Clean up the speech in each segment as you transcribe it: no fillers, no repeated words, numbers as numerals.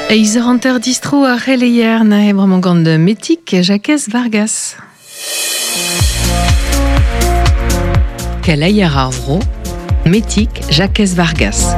Eiz hanter distro ar c'heleier na e bremañ gant Metik Jakez Vargas. Keleier ar vro, Metik Jakez Vargas.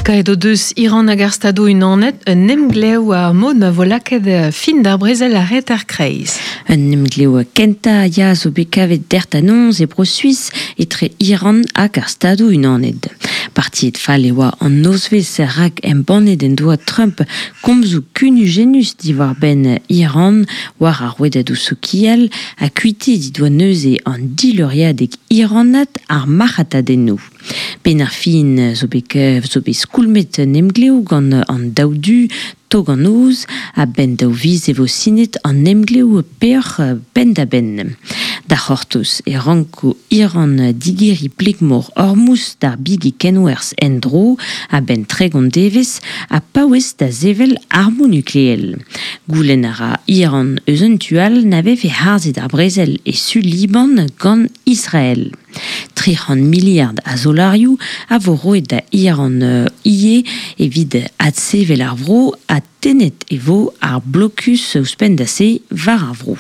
Kaet o deus Iran hag ar Stadoù Unanet un emglev ar mod ma vo lakaet fin d'ar brezel a reter kreiz. Un emglev kentañ ya zo bet kavet dertanoz e Bro-Suis etre Iran hag ar Stadoù Unanet. Partiet fall e oa an nozvezh rak embannet en doa Trump komzoù kunujennus diwar-benn Iran war ar rouedadoù sokial ha kuitaet he doa neuze an dileuriadeg iranat ar marc'hatadennoù. Benn ar fin zo bet zo bet skoulmet un emglev gant an daou du tog an noz a-benn daou viz e vo sinet an emglev peoc'h penn-da-benn. Da c'hortoz e ranko Iran digeriñ pleg-mor Hormuz d'ar bigi kenwerzh en-dro a-benn 30 devezh ha paouez da sevel armoù nukleel. Goulenn a ra Iran eus un tu all na vefe harzet ar brezel e su Liban gant Israel. 300 miliard a zolarioù a vo roet da Iran ivez evit adsevel ar vro ha tennet e vo ar blokus ouzhpenn da se war ar vro.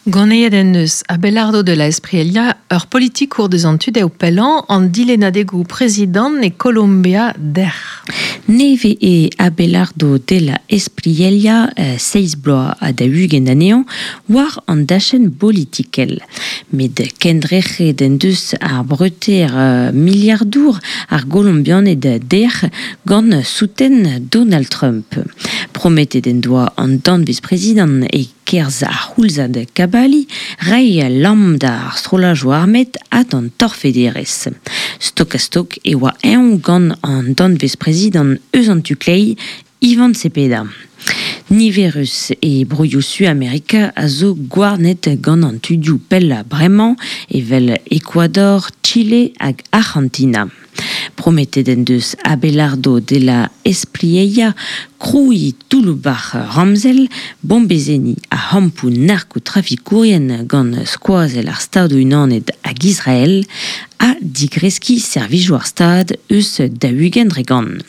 Ganeet en deus Abelardo de la Espriella ur politikour deus an tu dezho pellañ an dilennadegoù prezidant e Kolombia dec'h. Nevez eo Abelardo de la Espriella, seizh bloaz ha 40 anezhañ, war an dachenn bolitikel. Met kendrec'het en deus ar breutaer miliardour ar Golombianed dec'h gant souten Donald Trump. Prometet en doa an danvez-prezidant e kerzh ar c'houlzad kabaliñ reiñ lamm d'ar strollajoù armet ha d'an torfederezh. Stok-ha-stok e oa eñ gant an danvez-prezidant eus an tu-kleiz, Ivan Cepeda. Niverus e broioù Suamerika a zo gouarnet gant an tudioù pellañ bremañ, evel Ecuador, Chile hag Arc'hantina. Prometet en deus Abelardo de la Espriella krouiñ toulloù-bac'h ramzel, bombezenniñ ar c'hampoù narkotrafikourien gant skoazell ar Stadoù-Unanet hag Israel ha digreskiñ servijoù ar Stad eus 40%.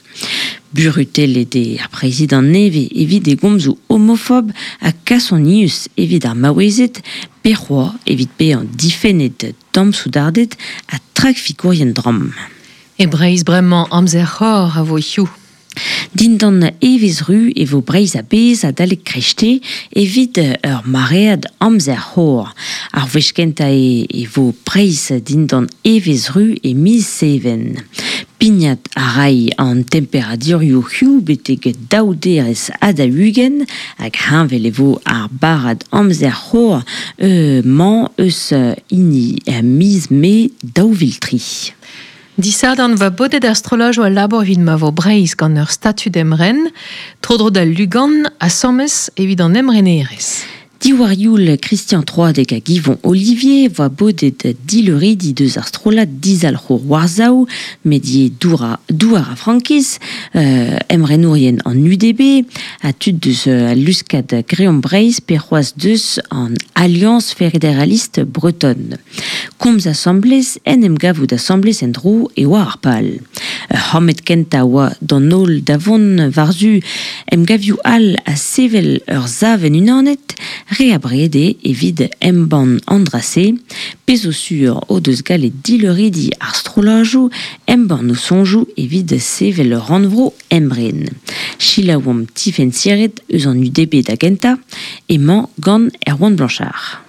Burutellet eo ar prezidant nevez evit e gomzoù homofob ha kasonius evit ar maouezed pe c'hoazh evit bezañ difennet damsoudarded ha trafikourien dramm. E Breizh bremañ amzer c'hor a vo hiziv. Dindan evezh ru e vo Breizh a-bezh adalek kreisteiz evit ur maread amzer c'hor. Ar wech kentañ eo e vo Breizh dindan evezh ru e miz Seven. Pignat a ray an temperadurioù hiziv betek daou derez ha 40 hag heñvel e vo ar barrad amzer c'hor mañ eus hini miz Mae 2003. Disadorn va bodet ar strollajoù a labour evit ma vo Breizh gant ur statud emren, tro-dro d'al lugan asambles evit an emrenerezh. Diwar youl Christian Troadeg hag Yvon Ollivier voa bodet dileuridi deus ar strollad dizalc'hour war-sav, met ivez douar ha frankiz, emrenourien an UDB, ha tud deus al luskad Greomp Breizh pe c'hoazh deus an Alliance Fédéraliste Bretonne. Komz asambles, en em gavout asambles en-dro e oa ar pal. Ur c'hammed kentañ oa d'an holl da vont war-zu emgavioù all ha sevel ur savenn unanet, re abred eo evit embann an dra-se. Pezh zo sur o deus gallet dileuridi ar strollajoù embann o soñjoù evit sevel ur rannvro emren. Selaouomp Tifenn Siret eus an UDB da gentañ, emañ gant Erwan Blanchard.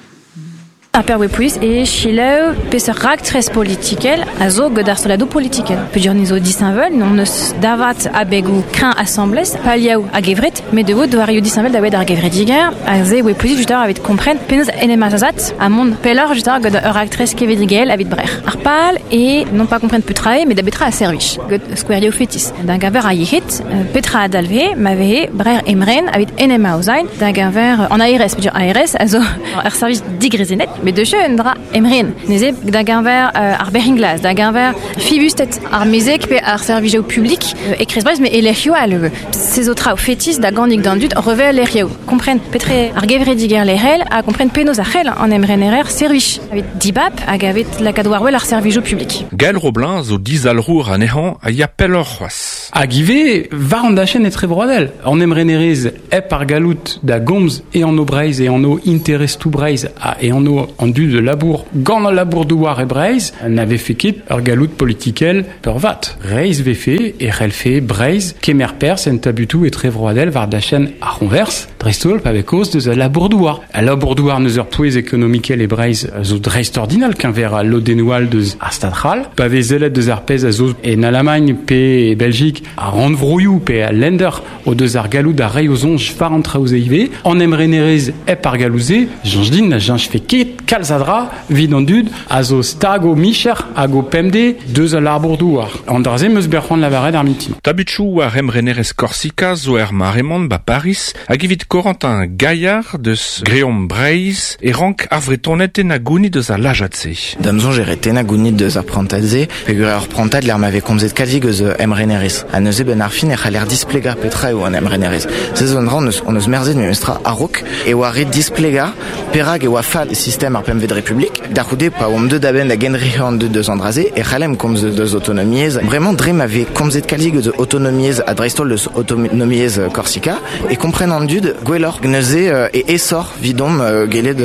Ar perwepolis e selaou peseurt raktres politikel a zo gant ar strolladoù politikel. Peogwir ni zo disheñvel, n'hon eus davat abegoù kreñv asambles, palioù a-gevret, met e vo doareoù disheñvel da welet ar gevredigezh. Aze e voe posibl justement evit kompren penaos en em azazat ha mont pelloc'h justement gant ur raktres kevredigezhel evit brec'h. Ar pal eo non pas kompren petra eo, met da betra a servij, gant skouerioù fetis. Da geñver ar yec'hed, petra a dalveze ma vehe brec'h emren evit en em aozañ da geñver an ARS, peogwir ARS a zo ur servij digrezennet, Met deus un dra emren. Neuze da geñver ar berc'hin-glas, da geñver fibusted ar mezeg pe ar servijoù publik e Kreiz-Breizh, met e lec'hioù all. Se zo traoù fetis da gannig d'an dud revel lec'hioù. Kompren petre ar gevredigezh lec'hel ha kompren penaos ar c'hell an emrenerer servij. Evit dibab hag evit lakaat war wel ar servijoù publik. Gael Roblin zo dizalc'hour anezhañ a ya pelloc'h c'hoazh. Hag ivez war an dachenn etrebroadel, an emrenerezh hep ar galloud da gomz e anv Breizh, e anv interestoù Breizh ha e anv an dud labour gant al labour-douar e Breizh, na vefe ket ur galloud politikel peurvat. Reizh vefe e c'hellfe Breizh kemer perzh en tabutoù etrevroadel war dachenn ar c'hoñvers, dreist-holl pa vez kaoz deus al labour-douar. Al labour-douar n'eus ur pouez ekonomikel e Breizh a zo dreistordinal keñver al lodennoù all deus ar Stad c'hall. Pa vez sellet deus ar pezh a zo en Alamagn pe e Beljik, ar rannvroioù pe al Länder o deus ar galloud da reiñ o soñj war an traoù-se ivez. An emrenerezh hep ar galloud-se, soñj din na cheñchfe ket kalz a dra evit an dud a zo stag o micher hag o pemdez deus al labour-douar. An dra-se 'm eus bet c'hoant lavaret ar mintin. Tabutoù war emrenerezh Korsika zo er mare-mañ 'ba Pariz hag evit Corentin Gaillard deus Greomp Breizh e rank ar Vretoned tennañ gounid eus al lajad-se. Da'm soñj e ret tennañ gounid deus ar prantad-se peogwir ur prantad lec'h ma vez komzet kalzik eus emrenerezh. Ha neuze benn ar fin e c'haller displegañ petra eo an emrenerezh. Se zo un dra hon eus, hon eus merzet memestra a-raok e oa ret displegañ perak e oa fall sistem ar Pempvet Republik. Da c'houde, pa oamp deuet a-benn da gendrec'hiñ an dud deus an dra-se, e c'hallemp komz deus autonomiezh. Bremañ, dre ma vez komzet kalzik eus autonomiezh ha dreist-holl deus autonomiezh Korsika, e kompren an dud gwelloc'h. Neuze e aesoc'h 'vidomp gellet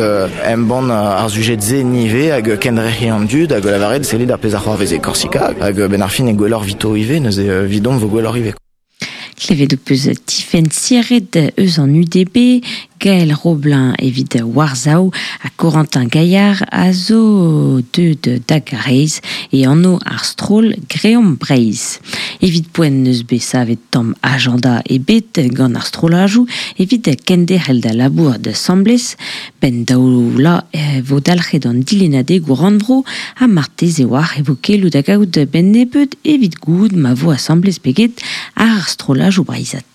embann ar sujed-se ni ivez hag kendrec'hiñ an dud hag lavaret sellit ar pezh a c'hoarvez e Korsika hag benn ar fin eo gwelloc'h 'vito ivez, neuze 'vidomp 'vo gwelloc'h ivez. Klevet ho peus Tifenn Siret eus an UDB, Gael Roblin evit War-sav ha Corentin Gaillard a zo deuet da Garaez e anv ar stroll Greomp Breizh. Evit poent n'eus bet savet tamm ajanda ebet gant ar strollajoù evit kenderc'hel da labourat asambles. Benn daou vloaz e vo dalc'het an dilennadegoù rannvro ha marteze oar e vo keloù da gaout benn nebeut evit goût ma vo asambles pe get ar strollajoù breizhat.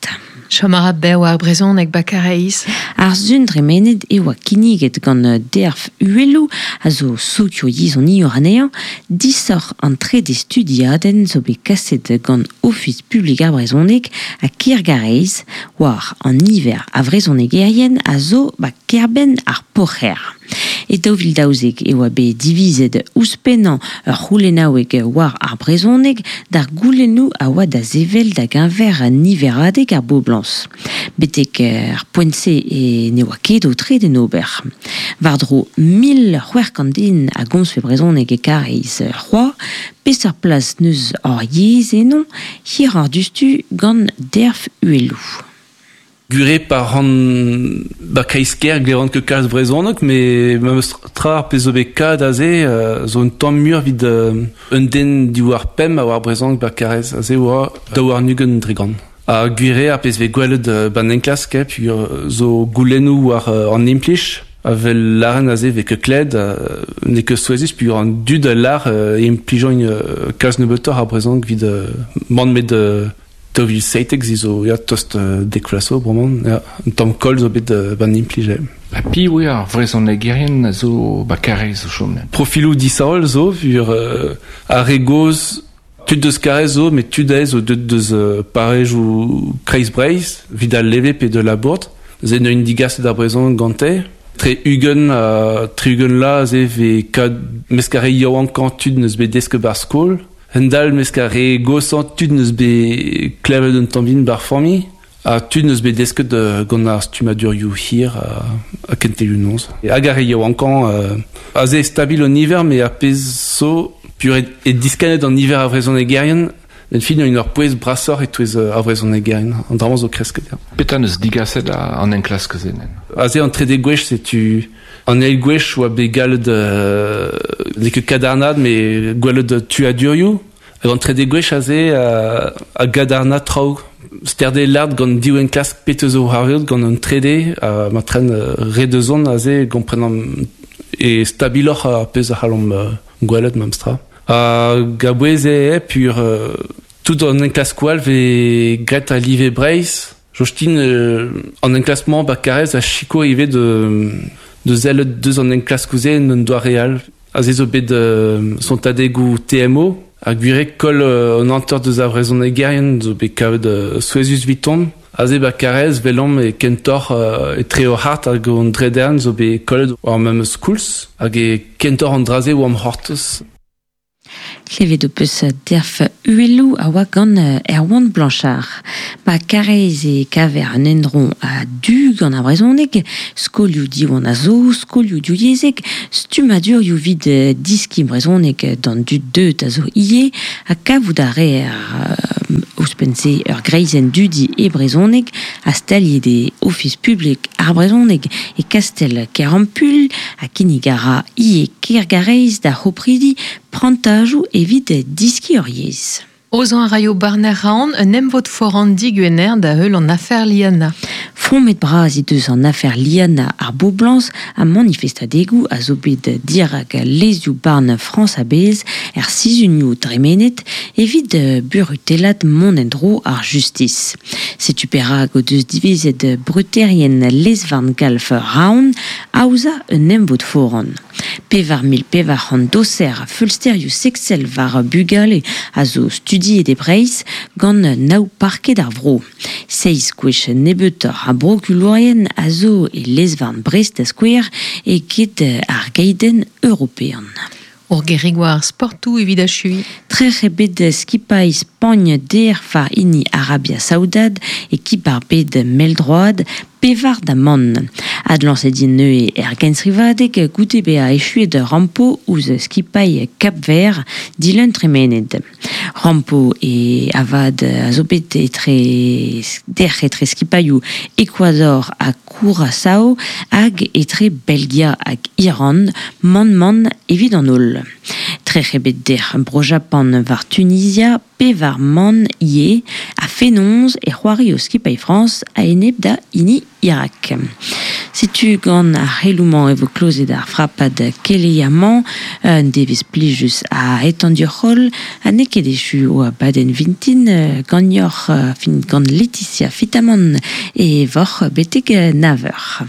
Chom a ra bev ar brezhoneg 'ba Karaez. Ar sun dremenet e oa kinniget gant Derf Uheloù, a zo sokioyezhoniour anezhañ, disoc'h an trede studiadenn zo bet kaset gant Ofis publik ar brezhoneg ha Kêr Garaez war an niver a vrezhonegerien a zo 'ba kêr-benn ar Poc'hêr. E 2012 e oa bet divizet ouzhpennañ ur c'houlennaoueg war ar brezhoneg d'ar goulennoù a oa da sevel da geñver niveradeg ar boblañs. Betek ar poent-se e ne oa ket aotret en ober. War-dro 1600 den a gomzfe brezhoneg e Karaez c'hoazh. Peseurt plas 'neus hor yezh eno? Hiroc'h diouzhtu gant Derf Uheloù. Gure pa ran ba kreiz-kêr glevan ket kalz brezhoneg met memes tra ar pezh zo bet kad aze zo un tamm muioc'h evit un den diwar pemp a oar brezhoneg ba Karaez aze oa 22 dre gant. Ha gwir eo ar pezh vez gwelet ba'n enklask peogwir zo goulennoù war an implij a vel lâren aze vez ket klevet n'eo ket souezhus peogwir an dud a lâr e implijont kalz nebeutoc'h ar brezhoneg evit mann met 2017 se zo ya, tost dek vloaz zo bremañ ya, un tamm koll zo bet ban implij eo. Ha piv eo ar vrezhonegerien a zo ba Karaez o chom? Profiloù disheñvel zo, vur ar re gozh tud deus Karaez zo, met tud aes zo deuet deus parrezioù Kreiz-Breizh, evit al leve pe de Labourd. Neuze neuint digaset ar brezhoneg gante. Tre 20 ha 60 la aze vez kad mesk ar re yaouankañ tud n'eus bet desket ba'r skol. Hend-all mesk ar re goshañ tud n'eus bet klevet un tamm bihan ba'r familh ha tud n'eus bet desket gant ar stummadurioù hir ha kentelioù noz. Hag ar re yaouankañ aze stabil an niver met ar pezh zo pur e diskennet an niver a vrezhonegerien en fin en ur pouez brasoc'h e-touez ar vrezhonegerien. An dra-mañ zo kresket. Petra n'eus digaset an enklask-se? Aze an trede gwech setu An eil gwech oa bet gallet n'eo ket kadarnaat met gwelet tuadurioù. Hag an trede gwech aze a gadarna traoù. Sterde lart gant div enklask petra zo c'hoarvezet gant an trede ha ma tren re da zont aze komprenomp e stabiloc'h ar pezh a c'hallomp gwelet memestra. Hag a-bouez eo pur tout an enklaskoù all vez graet a live Breizh. Jostin, an enklask-mañ ba Karaez a sikour ivez de, deus sellet deus an enklaskoù-se en un doare all. Aze zo bet sontadegoù TMO, ha gwir eo koll an hanter deus ar vrezhonegerien zo bet kavet souezhus 'viton. Aze ba Karaez 'welomp e kentoc'h etre hor c'hart hag hon drederenn zo bet kollet war memes koulz hag e kentoc'h an dra-se oamp c'hortoz. Klevet ho peus Derf Uhelloù a oa gant Erwan Blanchard. Ba Karaez e kaver un endro a-du gant ar brezhoneg, skolioù Diwan a zo, skolioù divyezhek, stummadurioù evit deskiñ brezhoneg d'an dud deuet a zo ivez, ha kavout a reer ouzhpenn-se ur greizenn dudi e brezhoneg ha staliet eo Ofis publik ar brezhoneg e kastell Kerampuilh ha kinnig a ra ivez Kêrgareiz d'ar c'hopridi prantajoù evit diskiñ ur yezh. Aozañ a raio barner Raon un emvod foran digwener da heul an afer Liana. Fromet bras he deus an afer Liana ar boblañs ha manifestadegoù a zo bet dirak lezioù-barn Frañs a-bezh er sizhunioù dremenet evit burutellat mont en-dro ar justis. Setu perak o deus divizet bruterien lez-varn galv Raon aozañ un emvod foran. 4400 doser a feulsterioù seksel war bugale a zo studiet e Breizh gant nav parked ar vro. Seizh gwech nebeutoc'h a brokulourien a zo e lez-varn Brest da skouer eget ar geidenn european. Ur gerig war ar sportoù evit achuiñ. Trec'h eo bet skipailh Spagn dec'h war hini Arabia Saoudad e kib ar bed mell-droad pevar da mann. Adlañset int neuze er genstrivadeg goude bezañ echuet rampo ouzh skipailh Kap-Vert dilun tremenet. Rampo e avat a zo bet etre dec'h etre skipailhoù Ecuador ha Curaçao hag etre Belgia hag Iran mann-mann evit an holl. Trec'h eo bet dec'h Bro-Japan war Tunizia pevar mann ivez ha fenoz e c'hoario skipailh Frañs a-enep da hini Irak. Setu gant ar c'heloù-mañ e vo klozet ar frapad keleier-mañ. Un devezh plijus a hetan dioc'h-holl ha n'eo ket echu o abadenn vintin ganeoc'h fin gant Laetitia Fitamant e voc'h betek nav eur.